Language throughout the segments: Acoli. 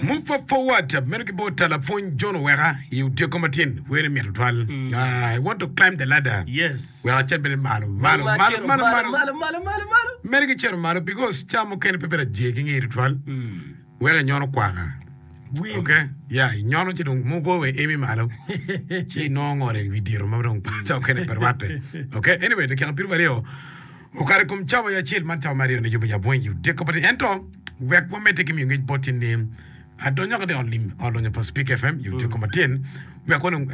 Move forward meno ki bot lapwony John Oweka i odyeko matin wene mit tutwal. I want to climb the ladder. Yes. Wek acit bene malo malo malo malo malo malo malo malo malo. Mere ki cito malo because ca mukene pe bedo ajer ki ngeye tutwal. Wek inyono kwaka. Wim. Okay? Yeah, inyono ci dong mugo we emi malo. Ci inongo ngole i wi diro ma dong ca mukene pe rwatte. Okay? Anyway, dakika 20 Okato i kom cawa acel man cawa me aryone yubo yab weng i odiko pa Ento wek wamedde ki miyo ngec boti ni adonyo ka ot lim ot lonyo pa Speak FM i odiko matin wek wanong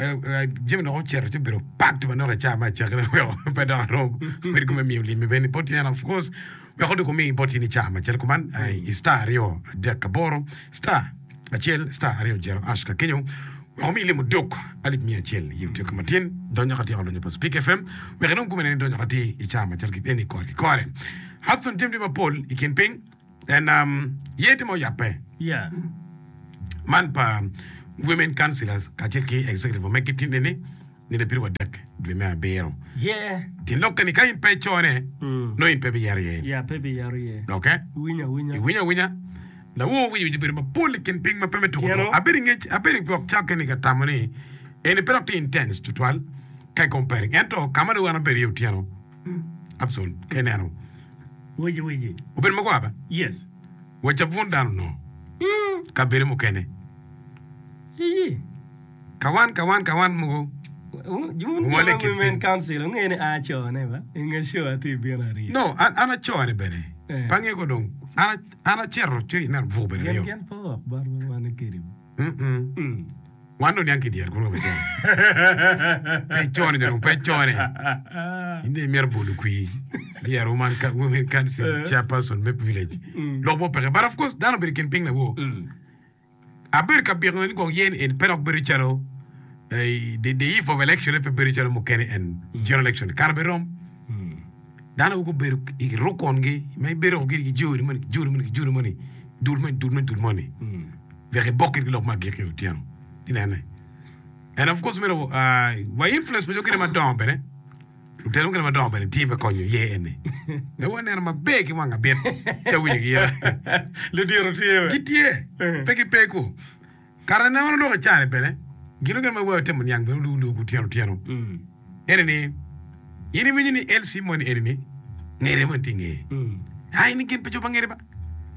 jami dok ocito ci obedo packed manok i cawa me acakki weko pe dok arom bedo kome miyo lim bene boti and of course wek odok omi boti ni cawa macalo kuman i star 238 star acel star aryo jero ash ka kenyo wek omi limo dok alip miya acel i otyeko matin donyo ka tyeko lonyo pa Speak FM wek inong gumene ni donyo ka tye i cawa macalo ki eni kore ki kore. Hudson jami tye mapol i kin piny en um, ye tye ma oyabbe Yeah. man pa women councillors kacel ki executive ma megi tinde ni nino piri wadek dwe me abiro. Yeah. Tyen lokke ni ka in pe icone, nongo in pe biyero iye. Yeah, pe biyero iye. Okay? Iwinyo awinya. Iwinyo awinya. Lawor winyo winyo bedo mapol i kin piny ma pe me tuko Tyeno. tuko. Abedo i ngec, abedo i gwok cakke ni ka tamo ni eni pe dok tye intense tutwal ka i comparing. Ento ka ma dong an abedo iye otyeno, Abson, ka ineno, Wici wici. obedo magwar ba? Yes. Wa cabun dano onongo. Kabedo mukene. Iyi. Kawan, kawan, kawan mogo Wun jo ongole ma i kin Women piny. Council wungeyo ni a acone ba? I nge show atye bino aryo. No, an, an acone bene. Eh. Pe angeyo ko dong. An, an acito ci ineno buko bene Gin aryo. gin pe owok botwa wan i kedi. Mm-mm. Mm. Wan dong niang ki dyere kunu ka wacito. Pe icone jo dong pe icone. In dong imito bolo kwir. Myero woman, women council chairperson me village. Lok mo peke. But of course dano obedo i kin piny lawor. Mm. Abedo ka biko ni gwok yen eni pe dok bedo calo the eve of election pe bedo calo mukene en general election kara bene rom dano mogo gubedo i rukongi ma ibedo giri ki joni moni ki joni moni ki joni moni dul moni dul moni dul moni wek ibok ki lok me agikki otyeno inene and of course myero wa influence pa jo kene madongo bene Lutela mukene madongo bene tye me konyo ye eni. Me waneno maber ki wang abit ca winyo ki yela. Ludito tye we. Gitye. Pe gipe ku. Kare ne wan oloko i cani bene, gin mukene ma wa temo niang bene olu olu otyeno otyeno. Ene ni, in iwinyo ni LC moni eni ni, ngere moni tye i ngeye. Ai ni gin pe jo pa ngere ba.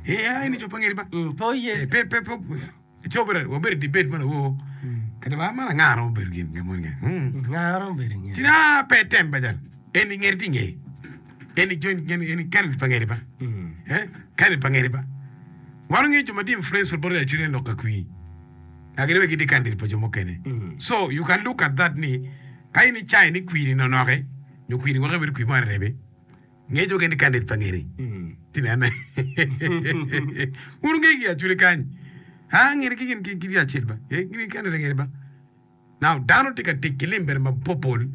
Ee ai ni jo pa ngere ba. Pe oye. Pe pe pe. Ci wabedo wabedo i debate man awo. Kadi wa man anga romo bedo gin nge moni nge. Hmm. Nga romo bedo nge. Ci na pe tem ba jal. Eni ngeri ti nge. Eni join eni eni candidate pa ngeri ba. Eh? Candidate pa ngeri ba. Wan onge jo ma tye influential bot actually en lok ka kwi. Agere we gitye candidate pa jo mukene. So you can look at that ni ka in icai ni kwiri nonoke nyo kwiri weko bedo kwir mo arebi. Ngeco keni candidate pa ngeri. Ti nene. Wun wunge ki acwele kany. Ha ngeri ki gin ki ki acel ba. Eh gin candidate ngeri ba. Now dano tye ka tic ki lim bene mapopol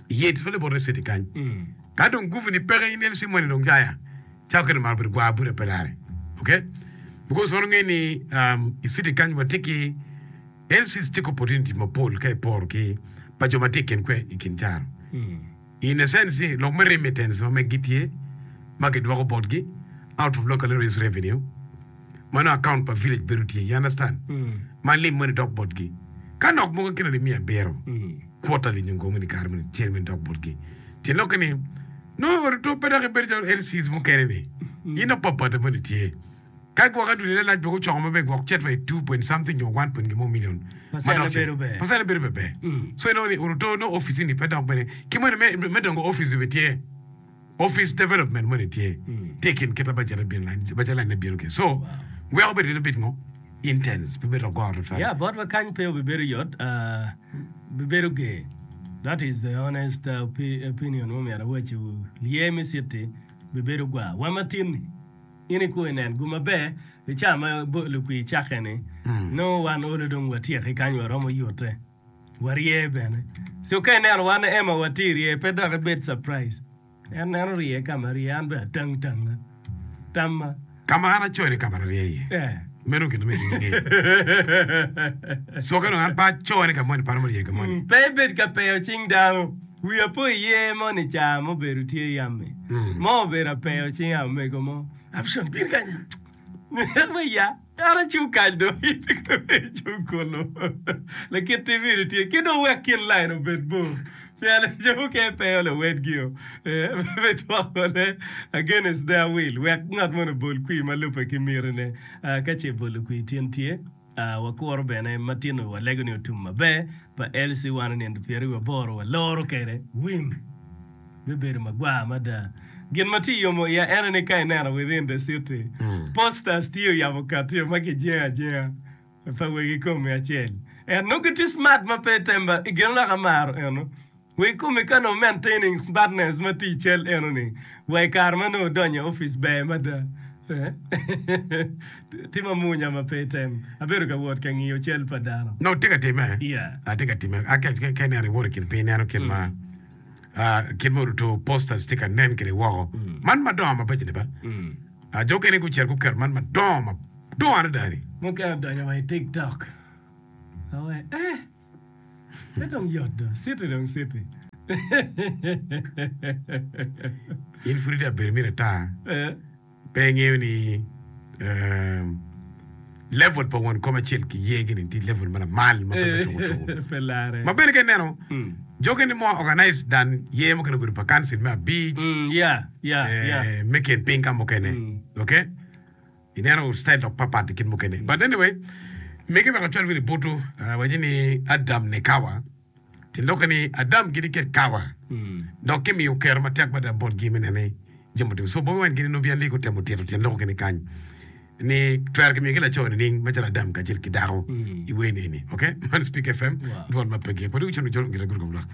iye tutwale bot city kany. Ka dong guvu ni peke in LC moni dong jaya. Cawa kene maro bedo gwar bute pe lare. Okay? Because wan wunge ni um, i city kany watye ki LCs tye ki opportunity mapol ka iporo ki pa jo ma tye i kin kwe i kin caro. In a sense ni lok me remittance ma meggi tye ma kidwoko botgi out of local areas revenue ma nongo account pa village bedo tye you understand ma lim moni dok botgi ka nok mogo kine alip miya abiro quarterly nyo ngo moni kare moni cene moni dok botgi tyen lokke ni nongo oruto pe dok ibedo calo LCs mukene ni in dok papate moni tye. Ka gwok adwol lalac bene gucoko maber gwok cet wa i two point something nyo one point gin mo million ma Percent dok bedo ber. Percent bedo ber. So inongo ni oruto nongo office ni pe dok bene ki moni me me dongo office bene tye office development moni tye tye i kin kit ma budget bino line budget line ne bino kwede so weko bedo little bit ngo intense pe bedo goro tutwal. Yeah, botwa kany pe obibedo yot, uh, bibedo ger. That is the honest uh, opi- opinion ma myero awacciwu. Lye me city bibedo gwar. Wa matin-ni. In ikwo inen gum maber i caa ma lukwir cakke ni, nongo wan olo dong watyeki kany waromo yute, warye bene. So ka ineno wan Emma watye rye pe dok ibed surprise. En neno rye ka ma rye an bene atang tanga tamma. Ka ma an acoyo ni ka ma arye iye. Eh. Meno gin ma in ingeyo. So ka dong an pe acoyo ni ka moni pe aromo rye ka moni. Pe ibed ka peyo cing dano. Wiya po iye moni ca mubedo tye yam-mi, mo obedo apeyo cinga omego mo. Abson, bin kany. Wiya. An acung kany dong in icung kunu. Lakit TV ni tye ki dong wek kin lain obed bor. Pien jo mukene peyo luwedgio me dwokone against their will wek ngat moni obol kwir ma lubbe ki mitine. Ka ce bolo kwir tin tye, wakuro bene matino walego ni otum maber pa LC wan nino pyeraryo aboro waloro kwede wim bibedo magwar mada. Gin ma tye yomo iya en aye ni ka ineno within the city posters tye oyabo katio ma kijengo ajenga. Pa wegi komi acel. En nongo gitye smart ma pe temba i gin dok amaro eno. Wegi komi ka nongo maintaining smartness ma tye i cal eno ni wa i kare ma nongo odonyo i office ber mada. Tye ma munya ma pe item. Abedo ka wot ka ngiyo cal pa dano. Nongo tye ka timme. Yeah. Atye ka timme. A ka ka ineno iwoto i kin piny ineno kit ma ah, kit ma oruto posters tye ka nen kwede woko. Man madongo mabeco ni ba. Ah, jo okene gucito guketo man madongo madongo adada-ni. Mukene odonyo wa i TikTok. Awe, eh, pe dong yot do, city dong city. In pud itye abedo miti ata, Eh, pe ingeyo ni eh, level pa won kom acel ki yegi-ni tye level ma lamal ma pe me tuko tuko. pe lare. Ma bene ka ineno, jo okene more organized than yer mukene obedo pa council me abic, Mm, yeah, yeah, yeah. eh, me kin piny ka mukene. Ok? Ineno style dok papat i kit mukene. But anyway, mege wek acwal wini butu, uh, waci ni Adam ne Kawa. Tyen lokke ni Adam gin ked Kawa. Dok kimiyo kero matek mada botgi me neno ni jami otimo. So Bobi Wine gin nongo bien gutemo tito tyen loko kene kany ni twero kimiyo ki laco nining macalo Adam kacel ki dako i wer ni eni. Ok? Man Speak FM, Wow. dwon ma pe gik. Wadi wucito jolo ngira guru kom lwak.